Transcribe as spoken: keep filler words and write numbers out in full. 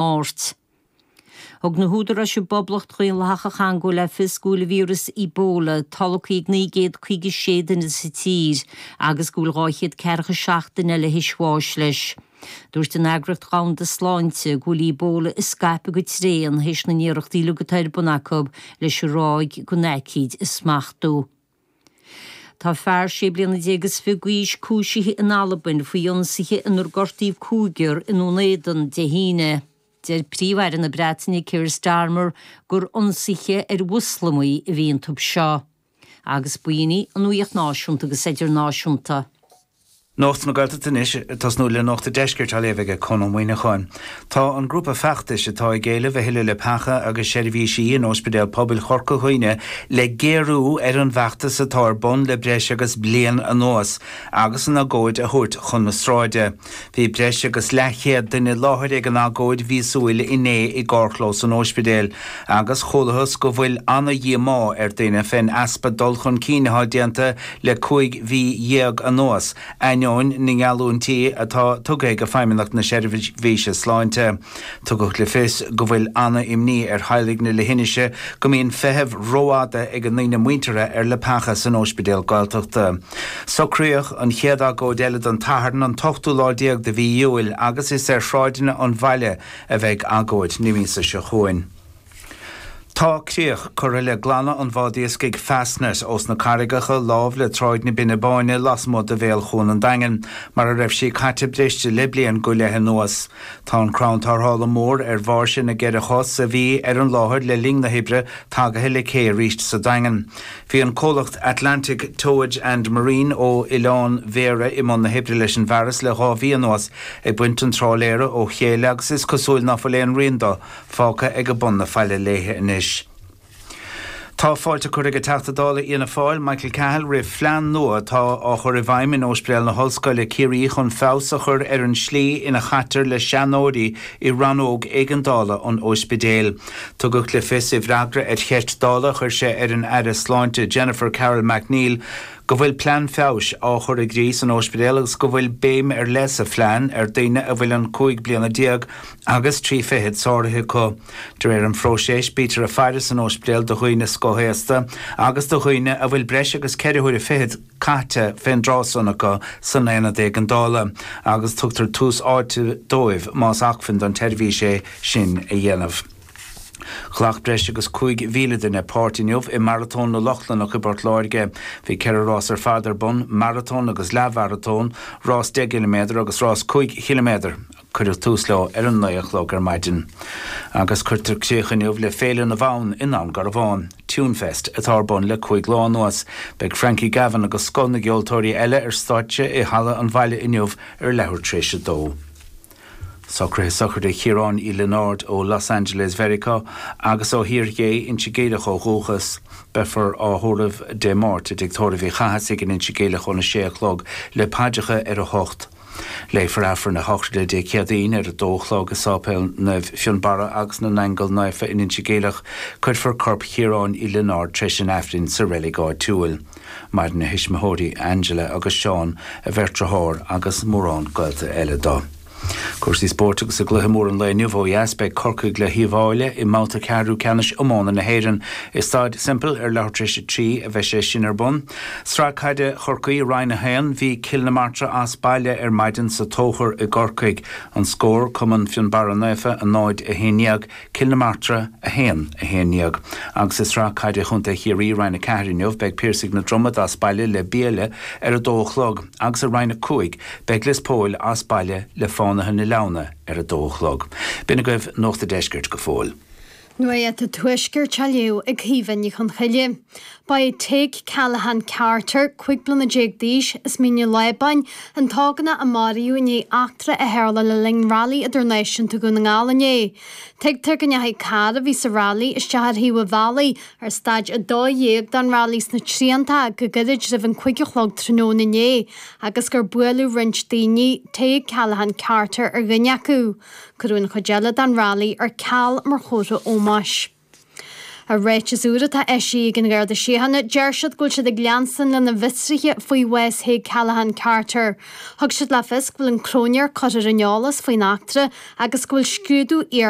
Máirt. Thug na húdaráis i bPoblacht Dhaonlathach an Chongó le fios go bhfuil víreas Ebola tolgtha ag naoi gcéad caoga sé duine sa tír agus go bhfuil dhá chéad ceathracha seacht duine eile théis bháis leis. Dúirt an Eagraíocht Dhomhanda Sláinte go bhfuil Ebola ag scaipeadh go tréan théis na n-iarrachtaí uilig atá ar bun acu leis an ráig den aicíd a smachtú. Tá fear sé bliana déag is fiche d'aois cúisithe in Albain faoi ionsaithe inar gortaíodh cúigear i nDún Éideann Dé hAoine. Deir Príomh-Aire na Breataine Keir Starmer gur ionsaithe ar Mhoslamaigh a bhí iontu seo. Agus b'in í an nuacht náisiúnta agus idirnáisiúnta. Nuacht na Gaeltachta anois, ag tosnú le Nuacht an Deiscirt á léamh ag Conn Ó Muíneacháin. Tá an grúpa feachtais atá ag éileamh a thuilleadh leapacha agus seirbhísí in Ospidéal Pobail Chorca Dhuibhne le géarú ar an bhfeachtas atá ar bun le breis agus bliain anuas agus an agóid a thabhairt chun na sráide. Bhí breis agus leathchéad duine i láthair ag an agóid mhíosúil inné i gcarrchlós an ospidéil agus chualathas go bhfuil ana-dhíomá ar daoine fén easpa dul chun cinn atá déanta le cúig mhí dhéag anuas, ainneoin na ngeallúintí atá tugtha ag Feidhmeannacht na Seirbhíse Sláinte. Tugadh le fios go bhfuil ana-imní ar theaghlaigh na leithinise go mbíonn feitheamh rófhada ag a ndaoine muinteartha ar leapacha san Ospidéal Gaeltachta. Socraíodh an chéad agóid eile don tSatharn an t-ochtú lá déag de mhí Iúil agus is ar shráideanna an bhaile a bheidh agóid na míosa seo chugainn. Tá críoch curtha le glanadh an bhád iascaigh Fastnet ós na carraigeacha lámh le Tráigh na Binne Báine lasmuigh de bhéal Chuan an Daingin, mar a raibh sí caite briste le bliain go leith anuas. Tá an crann tarrthála mór ar bháirse na gceithre chos a bhí ar an láthair le linn na hoibre tagaithe le cé arís sa Daingean. Bhí an comhlacht Atlantic Towage and Marine ó Oileán Bhéarra i mbun na hoibre leis an bhfearas le dhá mhí anuas, ag baint an trálaeir ó chéile agus is cosúil ná fuil aon rian dó fágtha ag bun na faille léithe anois. Tá fáilte curtha ag an Teachta Dála Fhianna Fáil, Michael Cahill, roimh phlean nua atá á chur i bhfeidhm in Ospidéal na hOllscoile Ciarraí chun feabhas a chur ar an slí ina chaitear le seanóirí i rannóg éigeandála an ospidéil. Tugadh le fios i bhfreagra ar cheist Dála a chuir sé ar an Aire Sláinte Jennifer Carroll MacNeill go bhfuil plean feabhais á chur i gcrích san ospidéal agus go bhfuil béim ar leith sa phlean ar daoine a bhfuil an cúig bliana déag agus trí fichid sáraithe acu. De réir an phróisis, bítear ag faire san ospidéal do dhaoine scothaosta agus do dhaoine a bhfuil breis agus ceithre huaire fichead caite fén dtráth san acu san aonad éigeandála agus tugtar tús áite dóibh más acmhainn don tseirbhís é sin a dhéanamh. Ghlac breis agus cúig mhíle duine páirt inniu i Maratón na Lochlannach i bPort Láirge. Bhí ceithre rás ar fad ar bun, maratón agus leathmharatón, rás deich gciliméadar agus rás cúig chiliméadar. Cuireadh tús leo ar an naoi a chlog ar maidin. Agus cuirtear críoch inniu le Féile na bhFonn i nDún Garbhán, Tunefest, atá ar bun le cúig lá anuas. Beidh Frankie Gavin agus scoth na gceoltóirí eile ar stáitse i Halla an Bhaile inniu ar leathuair tar éis a dó. Socruithe sochraide Chiaráin Uí Lionáird ó Los Angeles Mheiriceá agus ó Thír Gé, Inse Geimhleach ó dhúchas. Beifear á thórramh Dé Máirt i dTigh Tórraimh Uí Chathasaigh in Inse Geimhleach óna sé a chlog le paidreacha ar a hocht. Léifear Aifreann a shochraide Dé Céadaoin ar a dó a chlog i Sáipéal Naomh Fionnbarra agus na nAingeal Naofa in Inse Geimhleach. Cuirfear corp Chiaráin Uí Lionáird tar éis an Aifrinn sa reilig áitiúil. Maireann a thuismitheoirí Angela agus Seán, a bheirt dearthár agus mórán gaolta eile dó. Cúrsaí spóirt agus i gcluiche mór an lae inniu ó dheas beidh Corcaigh le hUíbh Fhailí i mbabhta ceathrú ceannais iomána na hÉireann. I Staid Semple ar leathuair tar éis a trí a bheidh sé sin ar bun. Sraith Caide Chorcaí Roinn a haon, Bhí Cill na Martra as baile ar maidin sa Tóchar i gCorcaigh. An scór, Cumann Fionnbarra Naofa a náid a haon déag, Cill na Martra a haon, a haon déag. Agus i Sraith Caide Chontae Chiarraí, Roinn a ceathair inniu, beidh Piarsaigh na Dromad as baile le Biaille ar a dó a chlog agus i Roinn a cúig, beidh Lios Póil as baile le Fánaithe na Leamhna ar a dó a chlog. B'in agaibh Nuacht an Deiscirt go fóill. Nuacht an Tuaiscirt á léamh ag Caoimhe Ní Chonchoille. Ba é Tadhg Callaghan Carter, cúig bliana déag d'aois, as Mín an Lábáin, an t-ógánach a maraíodh i ndiaidh eachtra a tharla le linn Railí Idirnáisiúnta Dhún na nGall inné. Tuigtear go ndeachaigh carr a bhí sa railí isteach ar thaobh an bhealaigh ar staid a dó dhéag den railí sna Trianta go gairid roimh an cúig a chlog tráthnóna inné agus gur buaileadh roinnt daoine, Tadhg Callaghan Carter ar dhuine acu. Cuireadh an chuid eile den railí ar ceal mar chomhartha ómóis. I ráiteas úr atá eisithe ag an Gharda Síochána deir siad go bhfuil siad ag leanstan lena bhfiosruithe faoi bhás Thague Callaghan Carter. Thug siad le fios go bhfuil an cróinéir curtha ar an eolas faoin eachtra agus go bhfuil scrúdú iar